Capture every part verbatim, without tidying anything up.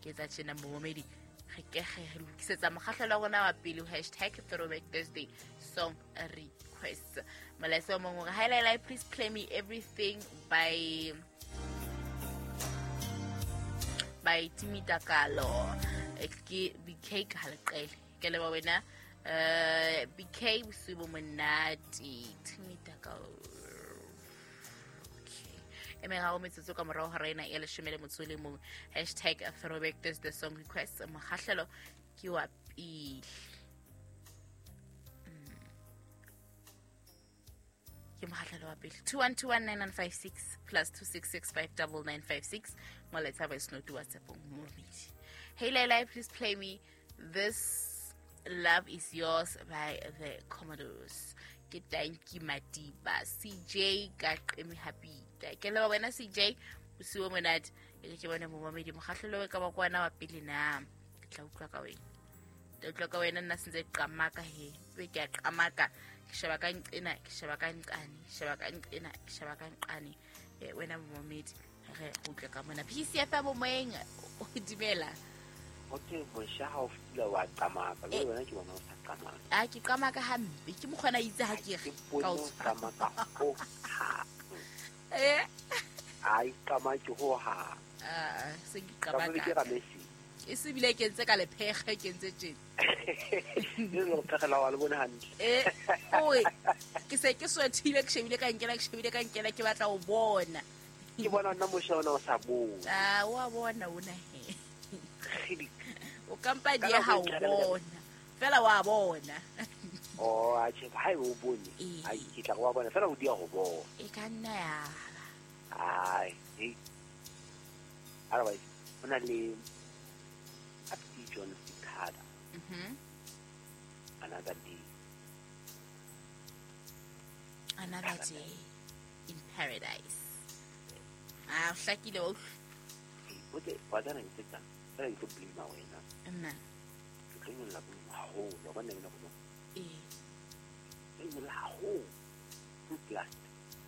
Ke etsa tjena momamedi re ke re lokisetsa mokgahlelo wa rona wa pele hashtag Throwback Thursday song request. Molaetsa o mong o re, hi Laila, please play me Everything by by Timi Takalo. Ke B K ka leqele. Ke leboha wena. Uh, B K bosiu bo monate. Timi Takalo. Okay. E meraro metsotso ka morao hora ena ya leshome le motso o le mong. Hashtag Throwback Thursday song request. Mokgahlelo ke wa pele. Ke mokgahlelo wa pele. two one two one nine nine five six plus two six six five nine nine five six. Molaetsa voice note WhatsApp momamedi. Hey Laila, please play me This Love Is Yours by the Commodores. Ke tanki Madiba C J ka qemi happy. Ke leboha wena C J bosiu bo monate. Ke ke bone momamedi mokgahlelo ka ba kwana wa pele na. Ke tla utlwa ka wena. Ke utlwa ka wena nna sentse qamaka he. Be ke a qamaka. Ke sheba ka nqena, ke sheba ka nqane, ke sheba ka nqena, ke sheba ka nqane. Eh wena momamedi re utlwe ka mona. P C F M moeng o dumela. Okay, mosha ha o fila wa qamaka le wena ke bona o sa qamaka. A ke qamaka hampe ke mokgona itse ha ke re ka o qamaka ho ha. Eh ai qamaka ho ha. Ah se ke qamaka. Ke ramesi. E se bile ke ntse ka lephege ke ntse tjena. Le le phege la wa le bone hantle. Eh oi ke se ke swethile ke shebile ka nkela ke shebile ka nkela ke batla o bona. Ke bona nna mosha ona o sa bona. Ah wa bona ona he. O kampa di ha o bona. Fela wa bona. Oh a che ha o bone. Ai ke tla go bona fela o dia go bona. E ka nna ya. Ai e. Otherwise ona le Apti John Sikada. Mhm. Another day. Another day in paradise. Ah, hlakile o. O te wa tsana ke tsa. Fela ke blame wena. Nna. Ke tlo nyolla haholo, wa bona wena go. Eh. Ke nyolla haholo. Two plus.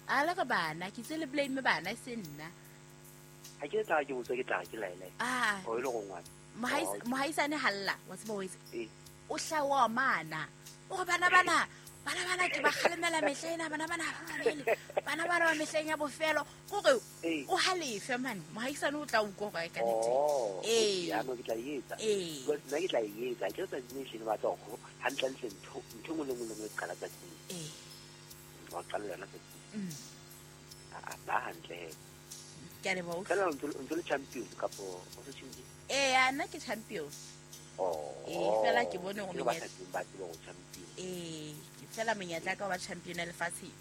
A la ka bana, ke tse le blame bana e se nna. Ha ke tla ke botsa ke tla ke laela. Ah. O ile go ngwana. Mohaisane halla, wa tseba o etse. Eh. O hlawa mana. O re bana bana, bana bana ke ba kgalemela mehla ena, bana bana ba mamele. Bana bana ba mehleng ya bofelo. Kore o halefe man, mohaisane o tla utlwa gore ka nnete. Eh. Ya no ke tla etsa. Because nna ke tla etsa. Ke tsa nne ba tla go hantle ntle ntho ntho ngwe le ngwe le qala tsa teng. Eh. Wa qala yona tsa teng. Mm. Ah ba hantle. Ke a leboha. Fela o ntse le champion kapo o se champion? Eh, nna ke champion. Oh. Eh, fela ke bone gore menyetla ba tseba go champion. Eh, ke fela menyetla ka ba champion ya lefatshe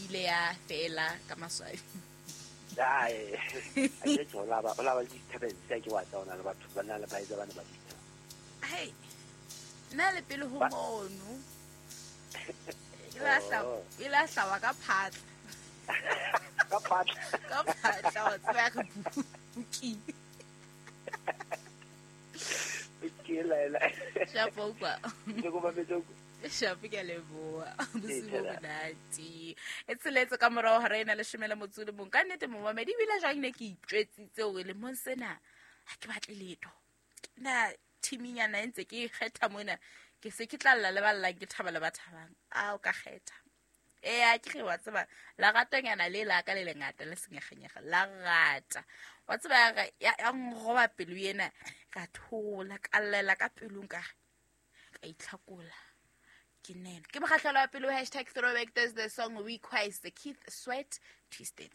ile ya fela ka maswabi. Dai. A ke tsola ba ola ba disturbance ke wa tsona le batho ba na le ba etsa bana ba disturb. Hey. Nna le pele ho mono. Ila hla ila hlawa ka phatla. Ka phatla. Ka phatla wa tseba re buki. Ke laela. Shapo kwa. Ke go ba metso. Shapo ke leboha. Bosiu bo monate. E tsheletse ka morao hora ena leshome le motso le mong. Ka nnete momamedi ebile jwang ne ke itjwetsitse hore lemong sena ha ke batle letho. Na thiminyana e ntse ke kgetha mona ke se ke tla lla le ba llang ke thaba le ba thabang. A o ka kgetha. Eh a ke re wa tseba la ratonyana le la ka le lengata le senyegenyege la rata. Wa tseba ya ya nroba pelo ena ka thola ka llela ka pelong ka ka itlhakola. Ke nene. Ke mokgahlelo wa pelo hashtag Throwback Thursday song request Keith Sweat Twisted.